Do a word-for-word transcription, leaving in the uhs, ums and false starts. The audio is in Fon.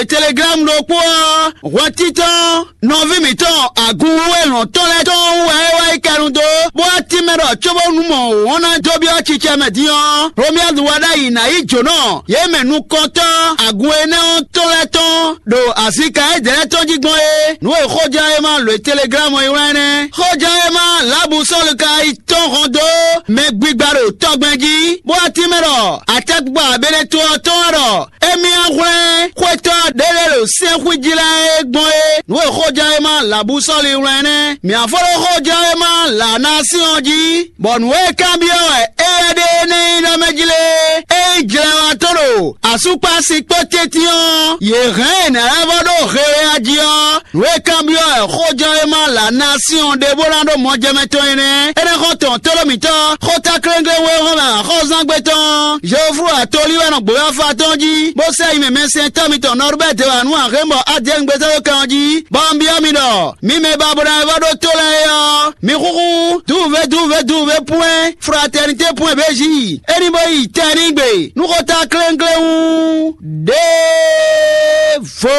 Telegram ɖokpó ɔ́, hwɛtítɔ́ nɔví mǐtɔn agun wú e lɔ̌n tɔn lɛ́ɛ tɔn wú wɛ é wá yi kɛnu dó, bó wá tínmɛ ɖɔ cóbónú mɔ wǒn ná dó byɔ́ cicɛ mɛ din ɔ́, Romuald wá ɖ'ayǐ ná yí jǒnɔ yě mɛ nukɔntɔ́ agun énɛ́ ɔ́ tɔn lɛ́ɛ tɔn ɖo azika édɛɛ tɔn jí gbɔn é. Nǔ e xóján e ma lǒ e Telegram e wlán énɛ́. Xóján e ma Labu Sɔ́lu ka yi tɔn hɔn dó mɛ gbigba ɖo tɔgbɛn jí, bó wá tínmɛ ɖɔ atɛ́kpikpa abélétɔ́ ɔ́ tɔn wá ɖɔ émí ná hwlɛ́n xwétɔ́ ɖé lɛ́ɛ ɖo sɛ́nxwíjí lɛ́ɛ é gbɔn é. Nǔ e xóján e ma Labu Sɔ́lu wlán énɛ́. Mǐ ná fó ɖó xóján e ma lǎ ná sín ɔ́ jí, bɔ nǔ e kanbyɔ́ wɛ éyɛ́ ɖe énɛ́ nyí ɖɔ mɛ jí lé? Ényí jlɛwatɔ́ ɖo asúkpási kpó tɛ́ntin ɔ́, yě hɛn ɛ nǎ lɛ́ vɔ ɖó hewea jí ɔ́, nǔ e kanbyɔ́ wɛ xójɔ́ e ma lǎ ná sín ɔ́ ɖe bó ná ɖó mɔjɛmɛ tɔn é nɛ́. Énɛ́ xɔ tɔn tóɖó mǐtɔn, xóta kléŋklé wé hɔn mɛ axɔ́zángbé tɔn, Jeoflu atolí wɛ nɔ gbǒ afa tɔn jí, bó sɛ yi mɛ mɛsɛntɔ́ mitɔn Nɔrbɛ́ti wɛ nú axémbɔ Adiyɛ́ngbétɔ́ kan ɔ́ jí, bɔ un byɔ́ mi ɖɔ, mi mɛ ba bó ná yi vɔ ɖó tó lɛ́ɛ é ɔ́, mi xúxú dúvɛ́ dúvɛ́ dúvɛ́ pwɛ́n fraternité pwɛ́n béji. É ní bó yi tɛnigbe nú xóta kléŋklé wú ɖěvo.